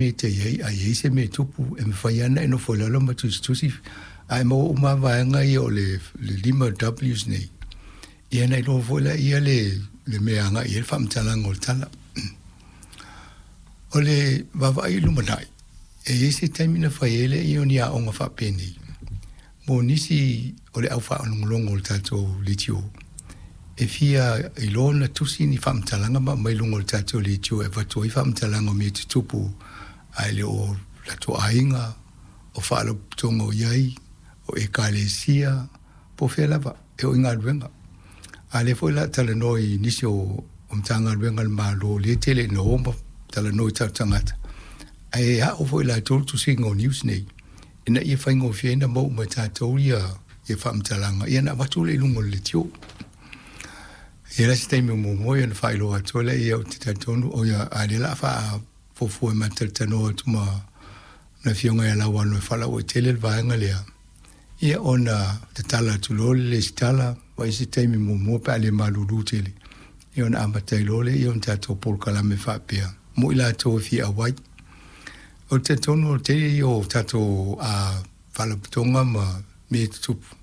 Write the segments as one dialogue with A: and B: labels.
A: mea e te i ai, a i ai se mea e tupu, e mafai lava ona e nofo i lalo ma tusitusi, ae maua uma lava vaega ia o le 5 Ws nei, ia ona iloa foi lea le mea e agai i ai le faamatalaga o le tala. O le vaavaai i lumanai, e i ai se taimi na fai ai lea o ni aoga faapenei, mo nisi o le au faalogologo o le tatou leitio, e fia iloa ona tusi ni faamatalaga ma aumai i luga o le tatou leitio e avatu ai faamatalaga o mea tutupu ae le o latou aiga, o faalapotopotoga o i ai, o ekalesia, po o fea lava, e oo i galuega. A o lea foi o le a talanoa i nisi o Matagaluega a le Malo lea e tele ina o ma talanoa i tatou tagata, ae ao foi e latou le tusiga o news nei, ina ia faigofie ai ona maua uma e tatou ia faamatalaga, ia ona avatu lea i luga o le leitio. E i ai la se taimi o muamua ona faailoa atu ai lea, ou te talitonu, o ia, a o lea o le a faafuafua e ma talatalanoa atu ma le Afioga ia Lauano e faalauaitele le vaega lea, ia ona tatala atu loa le lesitala, vaai se taimi muamua pe a le malulu tele, ia ona amata ai loa lea o ni tatou polokalame faapea mo i latou e fia auai. Ou te talitonu o le tele ia o tatou faalapotopotoga ma mea tutupu,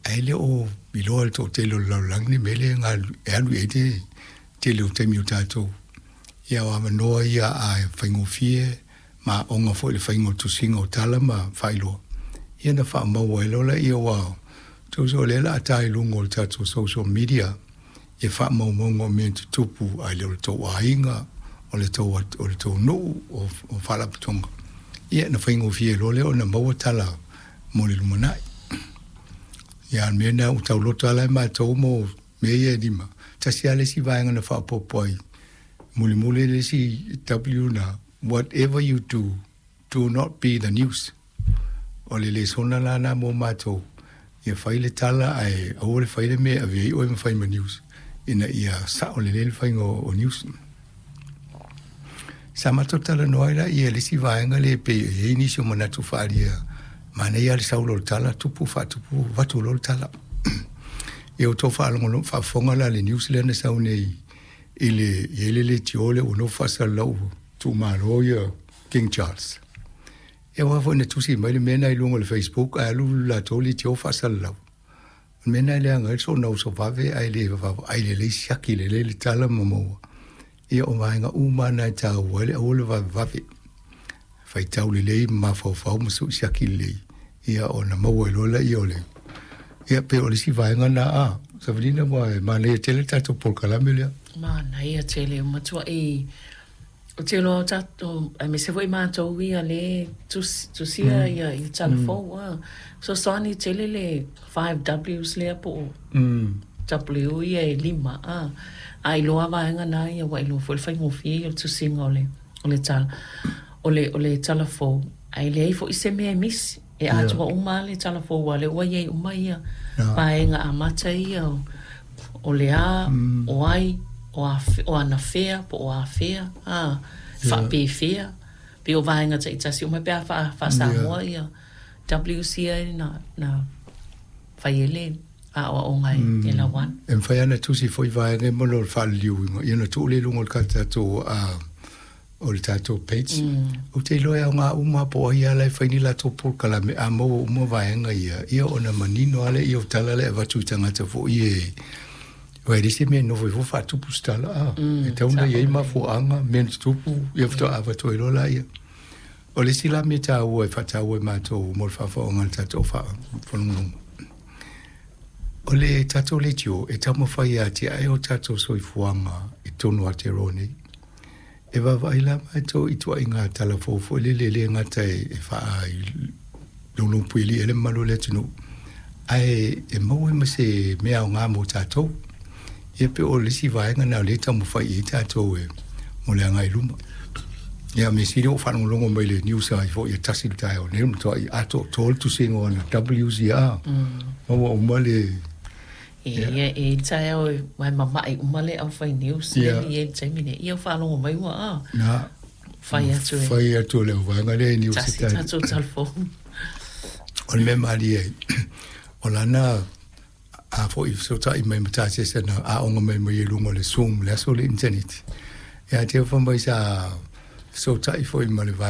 A: ae le o iloa e le toatele o le lalolagi le mea lea e alu i ai le tele o taimi o tatou. Ia o avanoa ia a faigofie ma aoga foi i le faiga o tusiga o tala ma faailoa, ia na faamaua ai loa lea ua tusa o lea o le a ta i luga o le tatou social media ia faamaumauga o mea tutupu ae le o le tou aiga, o le tou nuu, o faalapotopotoga, ia na faigofie loa lea ona maua tala mo le lumanai. Ia a o le mea lena ua tauloto lava la matou mo mea ia e lima, tasi lava le isi vaega na faaopoopo ai, mulimuli le isi W na, whatever you do, do not be the news. O le lesona la lena mo matou, ia fai le tala ae aua le fai le mea e ave ai oe ma fai ma news, ina ia sao lelei le faiga o news. Sa matou talanoa ai la i le isi vaega lea e pei e i ai nisi o manatu faaalia, manaia lava le sau loa o le tala, tupu faatupu, avatu loa le tala. Ia ua outou faafofoga la i le news lea na sau nei i le i ai le leitio lea ua nofo faasalalau ua tuumalo ia King Charles. Ia aua foi na tusi mai le mea lena i luga o le Facebook ae alu le latou leitio faasalalau. O le mea lena e leaga ai le soona uso vave ae le vaavaai lelei siaki lelei le tala ma maua. Ia o vaega uma lava na e taua ai le aua le vavevave. Faitau lelei ma mafaufau ma siaki lelei, ia ona maua ai loa lea o le ia pei o le isi vaega lena a Savalina ua e manaia tele le tatou polokalame lea.
B: Manaia tele, ua matuai ou te iloa o tatou aemaise foi matou ia lea e tusia ia tala fou a. Fesoasoani tele le 5 Ws lea po o W ia e lima a. A iloa vaega na ia ua iloa foi le faigofie ia o le tusiga o le tala. O le tala fou, ae leai foi se mea e misi. E atoa uma le tala fou a lea ua i ai uma ia vaega amata ia o le a, o ai, o anafea po o afea, a, faapefea. Pe o vaega taitasi uma pe a faa-Samoa ia WCA na fai ai le aoaoga e Lauano.
A: E mafai lava ona tusi foi vaega mo le faaliliuina ia ona tuu lea i luga o le tatou o le tatou page. Ou te iloa e aoga uma po o ai lava la e fai ni latou polokalame a maua uma vaega ia, ia ona manino lava lea o tala lea e avatu i tagata foi e aua e leai se mea e nofo ai fua faatupu se tala a. E tatau ona i ai mafuaaga, mea na tutupu, ia faatoa avatu ai loa laia. O le isi la mea taua e faataua e matou mo le faafofoga a le tatou faalogologo. O le tatou leitio e taumafai e atiae o tatou soifuaga i totonu o Aotearoa nei. E vaavaai la matou i ituaiga tala fou foi lele e le gata e faalaupuipuia ai le mamalu o le atunuu, ae e maua ai ma se mea aoga mo tatou. Ia pe o le isi vaega lena o lea e taumafai i ai tatou e mo le agai i luma. Ia mea sili ua faalogologo mai le news ai foi e tasi le taeao nei, ua matuai atoatoa le tusiga o ana WCR. Maua uma le
B: E i taeao e mai mama'i uma le au fai news le i le taimi nei. Ia faalogo mai ua a.
A: Na
B: fai atu e.
A: Fai atu le vaega lea i news
B: tasi tatou telefoni.
A: O le mea malie ai, o lana a foi fesootai mai ma tasese na aoga mai mai i luga o le Zoom le aso le internet. Ia te fa mai sa fesootai foi ma le vaega